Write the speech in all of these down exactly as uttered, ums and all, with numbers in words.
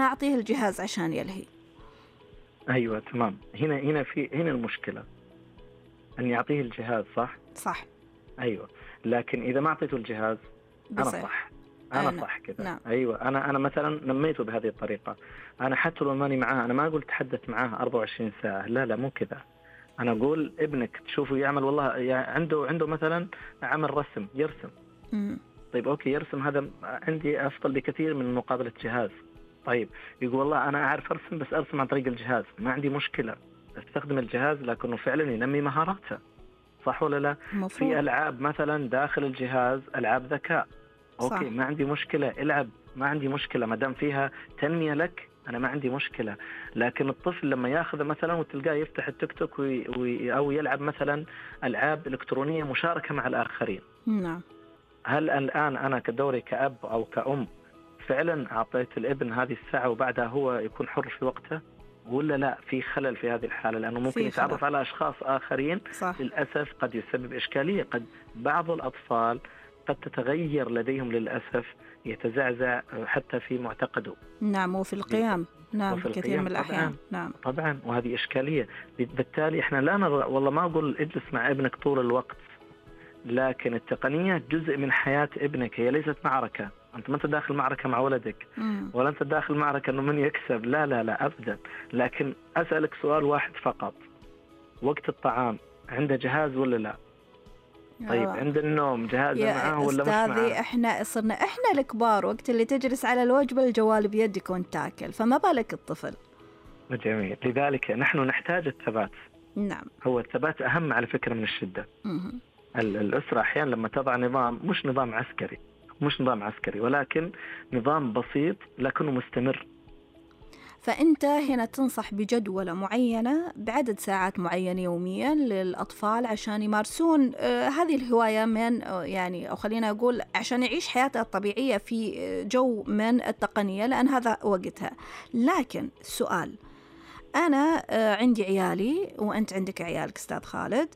أنا أعطيه الجهاز عشان يلهي. أيوة تمام. هنا هنا في هنا المشكلة أن يعطيه الجهاز صح؟ صح. أيوة، لكن إذا ما أعطيته الجهاز أنا بصير. صح أنا أنا. صح كذا. نعم. أيوة، أنا أنا مثلا نميته بهذه الطريقة. أنا حتى لو ماني معاه، أنا ما أقول تحدث معاه أربعة وعشرين ساعة، لا لا مو كذا. أنا أقول ابنك تشوفه يعمل، والله يعني عنده عنده مثلا عمل رسم يرسم. مم. طيب أوكي يرسم، هذا عندي أفضل بكثير من مقابلة جهاز. طيب يقول والله أنا أعرف أرسم بس أرسم عن طريق الجهاز، ما عندي مشكلة استخدم الجهاز، لكنه فعلا ينمي مهاراته، صح ولا لا؟ مفروض. في ألعاب مثلا داخل الجهاز ألعاب ذكاء، أوكي صح. ما عندي مشكلة العب، ما عندي مشكلة ما دام فيها تنمية لك، أنا ما عندي مشكلة. لكن الطفل لما يأخذ مثلا وتلقاه يفتح التيك توك وي وي أو يلعب مثلا ألعاب إلكترونية مشاركة مع الآخرين. نعم. هل الآن أنا كدوري كأب أو كأم فعلا أعطيت الابن هذه الساعة وبعدها هو يكون حر في وقته، ولا لا في خلل في هذه الحالة؟ لأنه ممكن يتعرف على أشخاص آخرين. صح. للأسف قد يسبب إشكالية، قد بعض الأطفال قد تتغير لديهم للأسف، يتزعزع حتى في معتقده. نعم، وفي القيام. نعم، وفي كثير القيام من الأحيان. طبعاً. نعم طبعا، وهذه إشكالية. بالتالي إحنا لا نرى، والله ما أقول اجلس مع ابنك طول الوقت، لكن التقنية جزء من حياة ابنك، هي ليست معركة. أنت ما أنت داخل معركة مع ولدك، مم. ولا أنت داخل معركة أنه من يكسب، لا لا لا أبدا. لكن أسألك سؤال واحد فقط، وقت الطعام عنده جهاز ولا لا؟ طيب آه. عند النوم جهاز معاه ولا مش معاه؟ أستاذي إحنا صرنا إحنا الكبار وقت اللي تجلس على الوجبة الجوال بيدك وانت تاكل، فما بالك الطفل. جميل. لذلك نحن نحتاج الثبات. نعم. هو الثبات أهم على فكرة من الشدة. مم. الأسرة أحيانا لما تضع نظام، مش نظام عسكري مش نظام عسكري ولكن نظام بسيط لكنه مستمر. فأنت هنا تنصح بجدولة معينة بعدد ساعات معينة يوميا للأطفال عشان يمارسون آه هذه الهواية من آه يعني أو خلينا أقول عشان يعيش حياته الطبيعية في جو من التقنية، لأن هذا وقتها. لكن السؤال، أنا آه عندي عيالي وأنت عندك عيالك أستاذ خالد،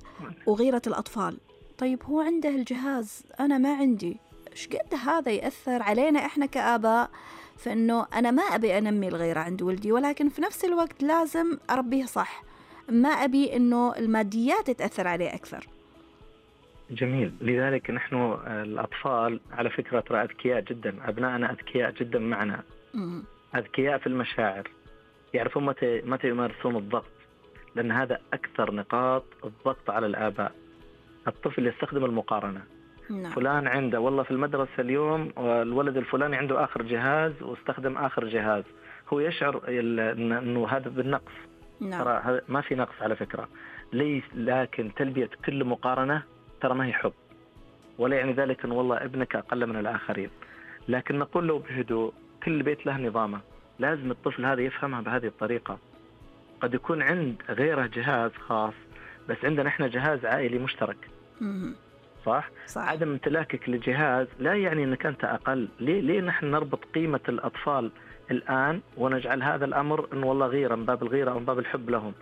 وغيرة الأطفال. طيب هو عنده الجهاز أنا ما عندي، إيش قد هذا يأثر علينا إحنا كآباء؟ فإنه أنا ما أبي أنمي الغيرة عند ولدي، ولكن في نفس الوقت لازم أربيه صح، ما أبي إنه الماديات تأثر عليه أكثر. جميل. لذلك نحن الأطفال على فكرة ترى أذكياء جدا، أبنائنا أذكياء جدا معنا، م- أذكياء في المشاعر، يعرفون متى متى يمارسون الضغط، لأن هذا أكثر نقاط الضغط على الآباء. الطفل يستخدم المقارنة. نعم. فلان عنده والله في المدرسة اليوم والولد الفلاني عنده آخر جهاز واستخدم آخر جهاز، هو يشعر أنه هذا بالنقص. نعم. ترى ما في نقص على فكرة، ليس، لكن تلبية كل مقارنة ترى ما هي حب، ولا يعني ذلك أن والله ابنك أقل من الآخرين. لكن نقول له بهدوء، كل بيت له نظامه، لازم الطفل هذا يفهمها بهذه الطريقة. قد يكون عند غيره جهاز خاص، بس عندنا إحنا جهاز عائلي مشترك. م- صح؟ صح؟ عدم امتلاكك لجهاز لا يعني أنك أنت أقل. ليه ليه نحن نربط قيمة الأطفال الآن ونجعل هذا الأمر أنه والله غيرة من باب الغيرة أو من باب الحب لهم،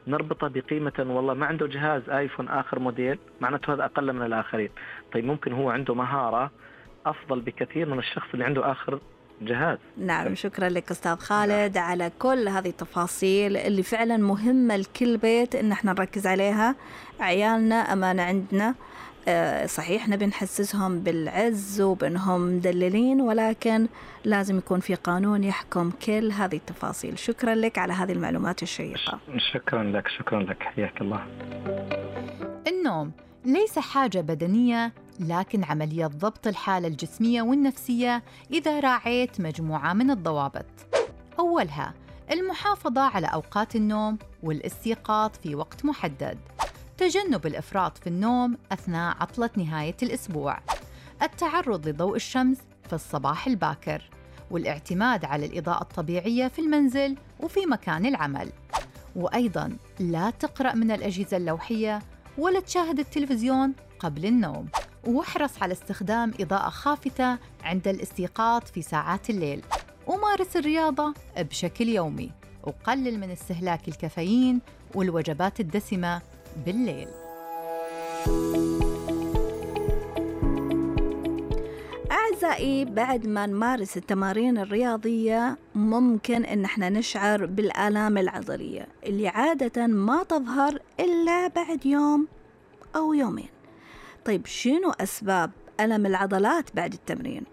نربطه بقيمة والله ما عنده جهاز آيفون آخر موديل معناته هذا أقل من الآخرين. طيب ممكن هو عنده مهارة أفضل بكثير من الشخص اللي عنده آخر جهاز. نعم، شكرا لك أستاذ خالد على كل هذه التفاصيل اللي فعلا مهمة لكل بيت إن احنا نركز عليها. عيالنا أمانة عندنا، صحيح نبي نحسسهم بالعز وبأنهم مدللين، ولكن لازم يكون في قانون يحكم كل هذه التفاصيل. شكرا لك على هذه المعلومات الشيقة. شكرا لك شكرا لك حياك الله. النوم ليس حاجة بدنية، لكن عملية ضبط الحالة الجسمية والنفسية إذا راعيت مجموعة من الضوابط. أولها المحافظة على أوقات النوم والاستيقاظ في وقت محدد، تجنب الإفراط في النوم أثناء عطلة نهاية الأسبوع، التعرض لضوء الشمس في الصباح الباكر، والاعتماد على الإضاءة الطبيعية في المنزل وفي مكان العمل. وأيضاً لا تقرأ من الأجهزة اللوحية ولا تشاهد التلفزيون قبل النوم، واحرص على استخدام إضاءة خافتة عند الاستيقاظ في ساعات الليل، ومارس الرياضة بشكل يومي، وقلل من استهلاك الكافيين والوجبات الدسمة بالليل. أعزائي، بعد ما نمارس التمارين الرياضية ممكن إن احنا نشعر بالآلام العضلية اللي عادة ما تظهر إلا بعد يوم أو يومين. طيب شنو أسباب ألم العضلات بعد التمرين؟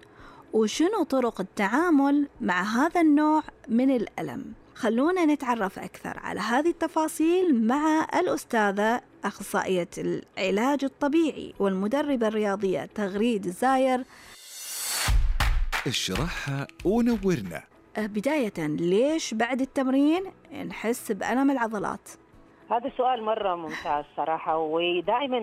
وشنو طرق التعامل مع هذا النوع من الألم؟ خلونا نتعرف أكثر على هذه التفاصيل مع الأستاذة أخصائية العلاج الطبيعي والمدربة الرياضية تغريد الزاير. اشرحها ونورنا. بداية، ليش بعد التمرين نحس بألم العضلات؟ هذا سؤال مرة ممتاز صراحة، ودائما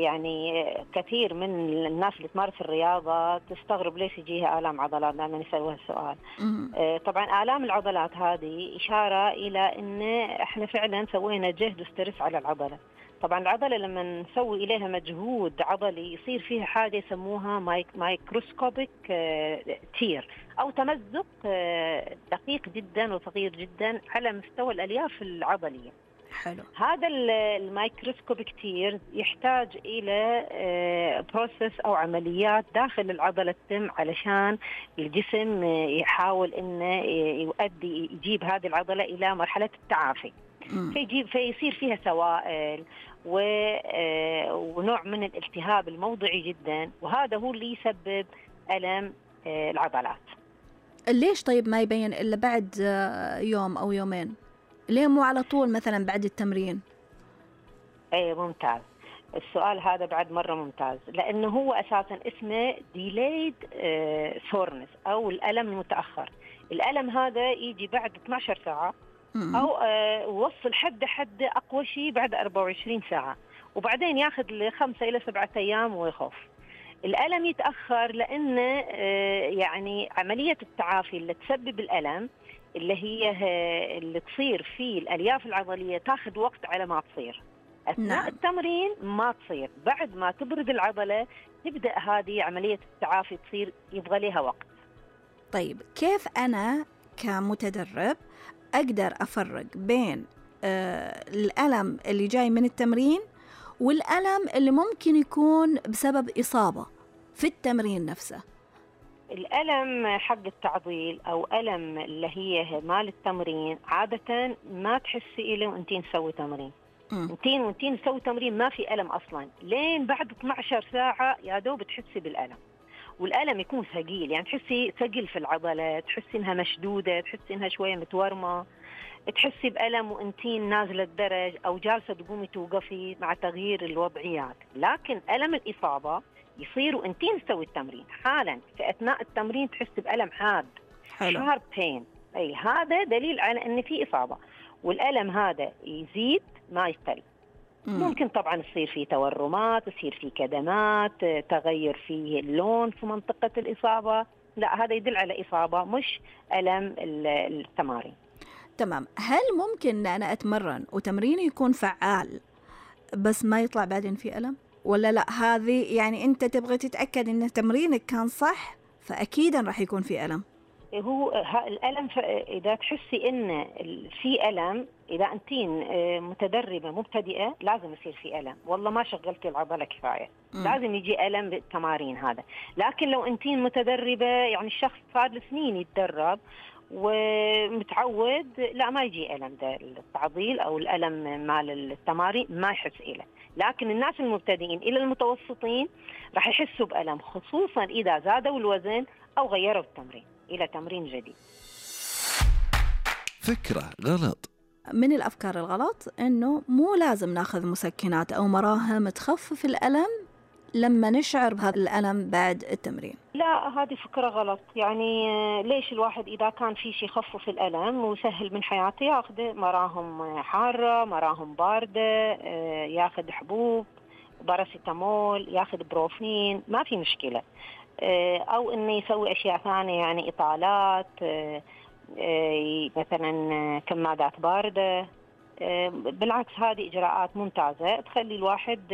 يعني كثير من الناس اللي تمارس الرياضة تستغرب ليش يجيها آلام عضلات لما نسألها السؤال. طبعا آلام العضلات هذه إشارة إلى إن إحنا فعلا سوينا جهد وسترس على العضلة. طبعا العضلة لما نسوي إليها مجهود عضلي يصير فيها حاجة يسموها مايك مايكروسكوبيك تير أو تمزق دقيق جدا وصغير جدا على مستوى الألياف العضلية. حلو. هذا الميكروسكوبيك تير يحتاج إلى بروسيس أو عمليات داخل العضلة تتم علشان الجسم يحاول إنه يؤدي يجيب هذه العضلة إلى مرحلة التعافي. فيجيب فيصير فيها سوائل ونوع من الالتهاب الموضعي جدا، وهذا هو اللي يسبب ألم العضلات. ليش طيب ما يبين إلا بعد يوم أو يومين؟ ليه مو على طول مثلا بعد التمرين؟ اي ممتاز السؤال هذا، بعد مرة ممتاز، لأنه هو أساسا اسمه delayed soreness أو الألم المتأخر. الألم هذا يجي بعد اثنتي عشرة ساعة أو وصل حد حد أقوى شيء بعد أربعة وعشرين ساعة، وبعدين ياخذ لخمسة إلى سبعة أيام ويخف. الألم يتأخر لأن يعني عملية التعافي اللي تسبب الألم اللي هي اللي تصير في الألياف العضلية تاخذ وقت على ما تصير. أثناء نعم. التمرين ما تصير، بعد ما تبرد العضلة تبدأ هذه عملية التعافي تصير، يبغى لها وقت. طيب كيف أنا كمتدرب أقدر أفرق بين آه الألم اللي جاي من التمرين والألم اللي ممكن يكون بسبب إصابة في التمرين نفسه؟ الألم حق التعضيل أو ألم اللي هي مال التمرين عادة ما تحسي إله وأنتين تسوي تمرين. أنتين وأنتين تسوي تمرين ما في ألم أصلاً، لين بعد اثنتي عشرة ساعة يا دوب تحسي بالألم، والألم يكون ثقيل، يعني تحسي ثقيل في العضلة، تحسي إنها مشدودة، تحسي إنها شوية متورمة، تحسي بألم وأنتين نازلة الدرج أو جالسة تقومي توقفي مع تغيير الوضعيات. لكن ألم الإصابة يصير وأنتين تسوي التمرين حالا، في أثناء التمرين تحس بألم حاد، شارب بين، أي هذا دليل على أن في إصابة. والألم هذا يزيد ما يقل. ممكن طبعا يصير فيه تورمات، يصير فيه كدمات، تغير فيه اللون في منطقة الإصابة، لا هذا يدل على إصابة مش ألم التمارين. تمام. هل ممكن أنا أتمرن وتمريني يكون فعال بس ما يطلع بعدين في ألم؟ ولا لا هذه يعني أنت تبغى تتأكد إن تمرينك كان صح فأكيدا راح يكون في ألم؟ هو الألم إذا تحسي إن في ألم، إذا أنتين متدربة مبتدئة لازم يصير في ألم، والله ما شغلتي العضلة كفاية، م. لازم يجي ألم بالتمارين هذا. لكن لو أنتين متدربة يعني الشخص صار له سنين يتدرب ومتعود، لا ما يجي ألم ده التعضيل أو الألم مال التمارين ما يحس إله. لكن الناس المبتدئين إلى المتوسطين راح يحسوا بألم، خصوصا إذا زادوا الوزن أو غيروا التمرين إلى تمرين جديد. فكرة غلط. من الأفكار الغلط إنه مو لازم ناخذ مسكنات أو مراهم تخفف الألم لما نشعر بهذا الألم بعد التمرين. لا هذه فكرة غلط. يعني ليش الواحد إذا كان في شيء يخفف الألم وسهل من حياته ياخذ مراهم حارة، مراهم باردة، ياخذ حبوب باراسيتامول، ياخذ بروفين، ما في مشكلة. أو إنه يسوي أشياء ثانية، يعني إطالات، مثلا كمادات باردة. بالعكس هذه إجراءات ممتازة تخلي الواحد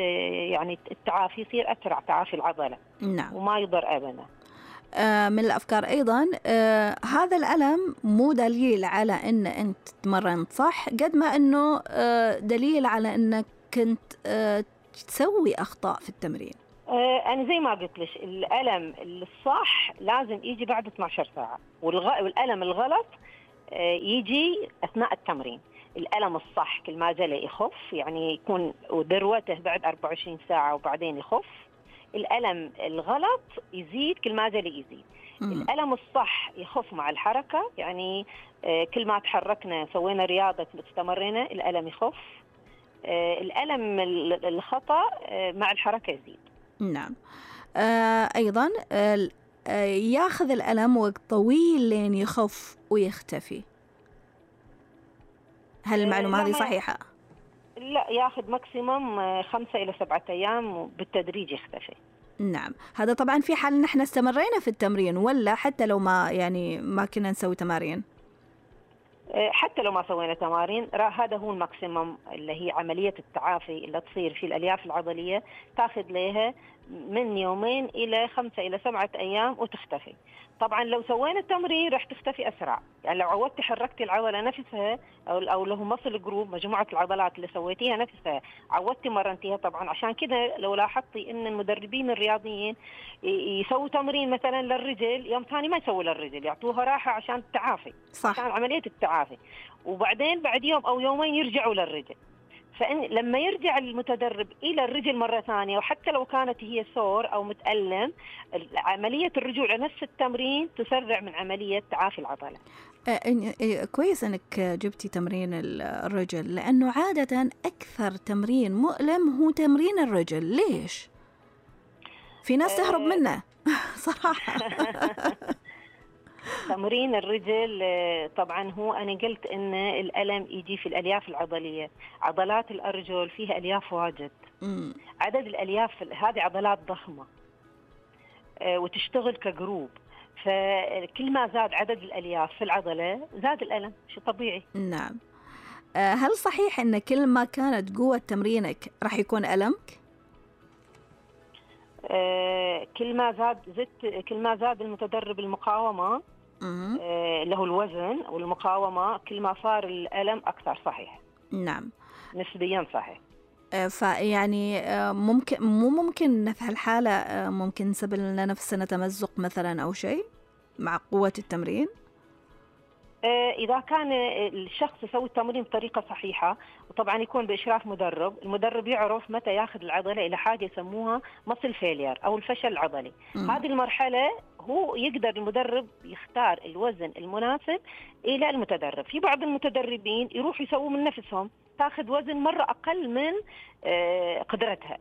يعني التعافي يصير أسرع، تعافي العضلة. نعم. وما يضر أبدا. آه من الأفكار أيضا آه هذا الألم مو دليل على أن أنت تمرنت صح قد ما أنه آه دليل على أنك كنت آه تسوي أخطاء في التمرين. آه أنا زي ما قلت لك الألم الصح لازم يجي بعد اثنتي عشرة ساعة، والغ... والألم الغلط آه يجي أثناء التمرين. الألم الصح كل ما جلى يخف، يعني يكون ذروته بعد أربعة وعشرين ساعة وبعدين يخف. الألم الغلط يزيد كل ما جلى يزيد. مم. الألم الصح يخف مع الحركة، يعني آه كل ما تحركنا سوينا رياضة استمرينا الألم يخف. آه الألم الخطأ آه مع الحركة يزيد. نعم. آه أيضا آه ياخذ الألم وقت طويل لين يخف ويختفي، هل المعلومة آه هذه صحيحة؟ لا، ياخذ ماكسيموم خمسة إلى سبعة أيام وبالتدريج يختفي. نعم، هذا طبعا في حال نحن استمرينا في التمرين، ولا حتى لو ما يعني ما كنا نسوي تمارين؟ حتى لو ما سوينا تمارين، هذا هو الماكسيموم اللي هي عملية التعافي اللي تصير في الألياف العضلية، تاخذ لها من يومين إلى خمسة إلى سبعة أيام وتختفي. طبعا لو سوينا التمرين راح تختفي أسرع، يعني لو عودتي حركتي العضلة نفسها أو أو له مصل جروب مجموعة العضلات اللي سويتيها نفسها عودتي مرنتيها. طبعا عشان كذا لو لاحظتي إن المدربين الرياضيين يسووا تمرين مثلا للرجل، يوم ثاني ما يسووا للرجل، يعطوها راحة عشان التعافي، صح. عشان عملية التعافي، وبعدين بعد يوم أو يومين يرجعوا للرجل. فإن لما يرجع المتدرب إلى الرجل مرة ثانية، وحتى لو كانت هي سور أو متألم، عملية الرجوع لنفس التمرين تسرع من عملية تعافي العضلة. آه كويس أنك جبتي تمرين الرجل، لأنه عادة أكثر تمرين مؤلم هو تمرين الرجل. ليش؟ في ناس تهرب منه صراحة. تمرين الرجل طبعا هو أنا قلت إن الألم يجي في الألياف العضلية. عضلات الأرجل فيها ألياف واجد، مم. عدد الألياف هذه عضلات ضخمة وتشتغل كجروب، فكل ما زاد عدد الألياف في العضلة زاد الألم، شيء طبيعي. نعم. هل صحيح إن كل ما كانت قوة تمرينك راح يكون ألمك؟ آه كل ما زاد زدت كل ما زاد المتدرب المقاومة آه له الوزن والمقاومة، كل ما صار الألم أكثر. صحيح. نعم، نسبيا صحيح. آه فيعني آه ممكن مو ممكن في هالحالة آه ممكن نسبب لنا نفسنا تمزق مثلا أو شيء مع قوة التمرين؟ إذا كان الشخص يسوي التمرين بطريقة صحيحة، وطبعا يكون بإشراف مدرب، المدرب يعرف متى ياخذ العضلة إلى حاجة يسموها مصل فيلير أو الفشل العضلي. م. هذه المرحلة هو يقدر المدرب يختار الوزن المناسب إلى المتدرب. في بعض المتدربين يروح يسووا من نفسهم، تاخذ وزن مرة أقل من قدرتها،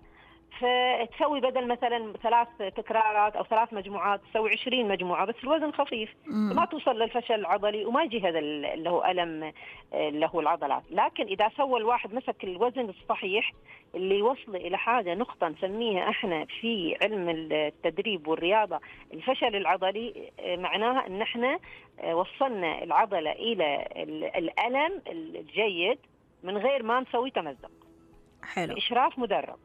فتسوي بدل مثلا ثلاث تكرارات أو ثلاث مجموعات تسوي عشرين مجموعة، بس الوزن خفيف، مم. ما توصل للفشل العضلي وما يجي هذا اللي هو ألم اللي هو العضلات. لكن إذا سوى الواحد مسك الوزن الصحيح اللي يوصل إلى حاجة نقطة نسميها إحنا في علم التدريب والرياضة الفشل العضلي، معناها إن إحنا وصلنا العضلة إلى الألم الجيد من غير ما نسوي تمزق. حلو. بإشراف مدرب.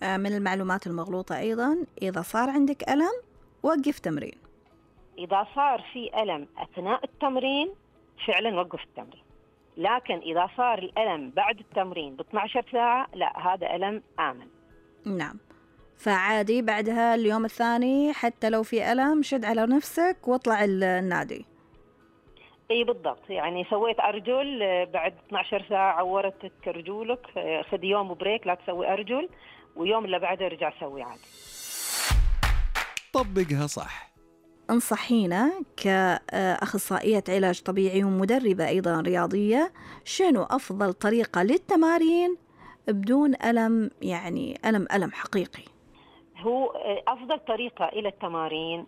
من المعلومات المغلوطة أيضا، إذا صار عندك ألم وقف تمرين. إذا صار في ألم أثناء التمرين فعلا وقف التمرين، لكن إذا صار الألم بعد التمرين ب اثنتي عشرة ساعة لا، هذا ألم آمن. نعم، فعادي بعدها اليوم الثاني حتى لو في ألم شد على نفسك واطلع النادي. اي بالضبط، يعني سويت أرجل بعد اثنتي عشرة ساعة عورتك رجولك، خذ يوم بريك لا تسوي أرجل، ويوم اللي بعده رجع سوي عادي. طبقها صح. انصحينا كأخصائية علاج طبيعي ومدربة أيضا رياضية، شنو أفضل طريقة للتمارين بدون ألم، يعني ألم ألم حقيقي؟ هو أفضل طريقة إلى التمارين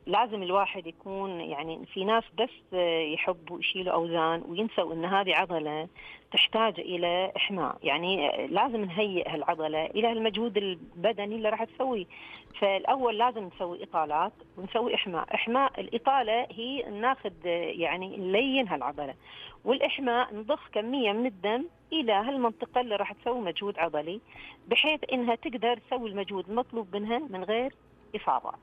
لازم الواحد يكون، يعني في ناس بس يحبوا يشيلوا أوزان وينسوا إن هذه عضلة تحتاج إلى إحماء، يعني لازم نهيئ هالعضلة إلى المجهود البدني اللي راح تسويه. فالأول لازم نسوي إطالات ونسوي إحماء. إحماء الإطالة هي ناخذ يعني نلين هالعضلة، والإحماء نضخ كمية من الدم إلى هالمنطقة اللي راح تسوي مجهود عضلي، بحيث إنها تقدر تسوي المجهود المطلوب منها من غير إصابات.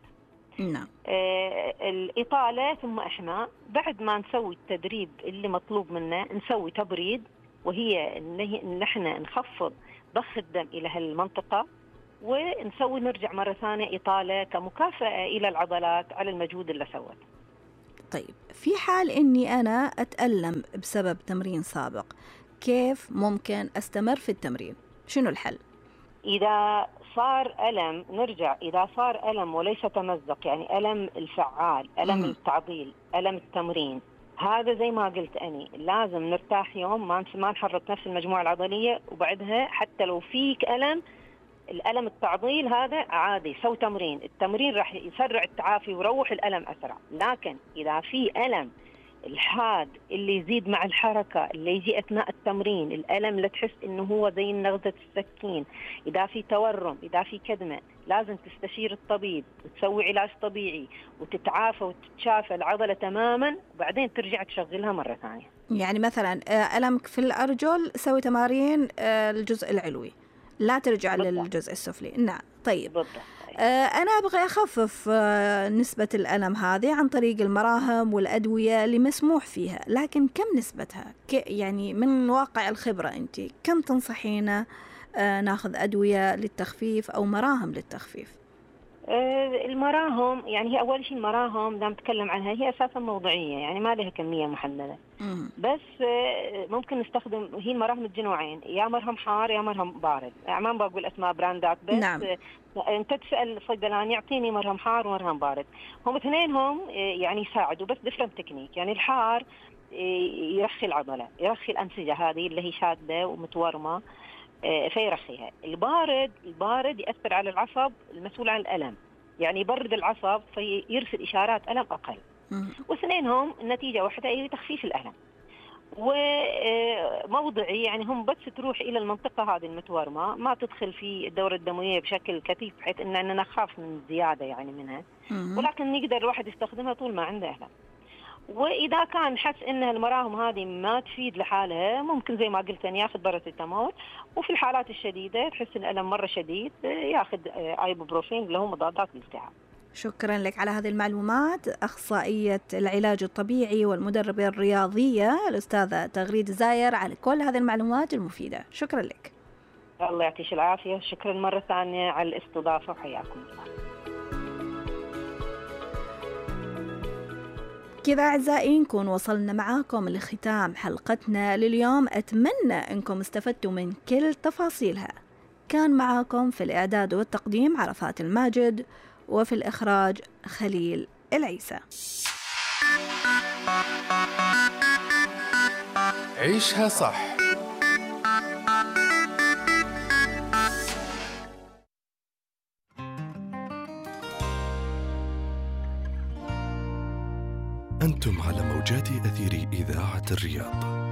نعم. آه الإطالة ثم إحماء. بعد ما نسوي التدريب اللي مطلوب منا نسوي تبريد، وهي إن إحنا نخفض ضخ الدم إلى هالمنطقة ونسوي نرجع مرة ثانية إطالة كمكافأة إلى العضلات على المجهود اللي سوت. طيب في حال إني أنا أتألم بسبب تمرين سابق، كيف ممكن أستمر في التمرين؟ شنو الحل؟ إذا صار ألم نرجع، إذا صار ألم وليس تمزق، يعني ألم الفعال، ألم مم. التعضيل، ألم التمرين، هذا زي ما قلت أني لازم نرتاح يوم، ما ما نحرك نفس المجموعة العضلية، وبعدها حتى لو فيك ألم، الألم التعضيل هذا عادي، سو تمرين، التمرين راح يسرع التعافي ويروح الألم أسرع. لكن إذا في ألم الحاد اللي يزيد مع الحركة، اللي يجي أثناء التمرين، الألم اللي تحس إنه هو زي نغزة السكين، إذا في تورم، إذا في كدمة، لازم تستشير الطبيب وتسوي علاج طبيعي وتتعافى وتتشافى العضلة تماما، وبعدين ترجع تشغلها مرة ثانية. يعني مثلا ألمك في الأرجل سوي تمارين الجزء العلوي، لا ترجع بالضبط. للجزء السفلي. نعم. طيب بالضبط. أنا أبغى أخفف نسبة الألم هذه عن طريق المراهم والأدوية اللي مسموح فيها، لكن كم نسبتها؟ يعني من واقع الخبرة أنت كم تنصحينا ناخذ أدوية للتخفيف أو مراهم للتخفيف؟ المراهم يعني هي أول شيء المراهم دام نتكلم عنها هي أساسا موضعية، يعني ما لها كمية محددة. مم. بس ممكن نستخدم، هي المراهم الجنوعين، يا مرهم حار يا مرهم بارد، يعني ما بقول أسماء براندات، بس نعم. أنت تسأل صيدلاني يعطيني مرهم حار ومرهم بارد، هم اثنينهم يعني يساعدوا بس ديفرنت تكنيك. يعني الحار يرخي العضلة، يرخي الأنسجة هذه اللي هي شادة ومتورمة فيرخيها. البارد البارد يأثر على العصب المسؤول عن الألم، يعني يبرد العصب فيرسل إشارات ألم أقل. واثنينهم النتيجة واحدة، هي تخفيف الألم. وموضعي يعني هم بس تروح إلى المنطقة هذه المتورمة، ما تدخل في الدورة الدموية بشكل كثيف بحيث إننا نخاف من زيادة يعني منها، ولكن نقدر الواحد يستخدمها طول ما عنده ألم. وإذا كان حس إن المراهم هذه ما تفيد لحالها، ممكن زي ما قلت أن ياخذ باراسيتامول، وفي الحالات الشديدة تحس إن الألم مرة شديد ياخذ ايبوبروفين اللي هو مضادات الالتهاب. شكرا لك على هذه المعلومات، أخصائية العلاج الطبيعي والمدربة الرياضية الأستاذة تغريد زاير، على كل هذه المعلومات المفيدة. شكرا لك. الله يعطيك العافية، شكرا مرة ثانية على الاستضافة وحياكم الله. كذا أعزائي نكون وصلنا معاكم لختام حلقتنا لليوم، أتمنى أنكم استفدتوا من كل تفاصيلها. كان معاكم في الإعداد والتقديم عرفات الماجد، وفي الإخراج خليل العيسى. عيشها صح. أنتم على موجات أثير إذاعة الرياض.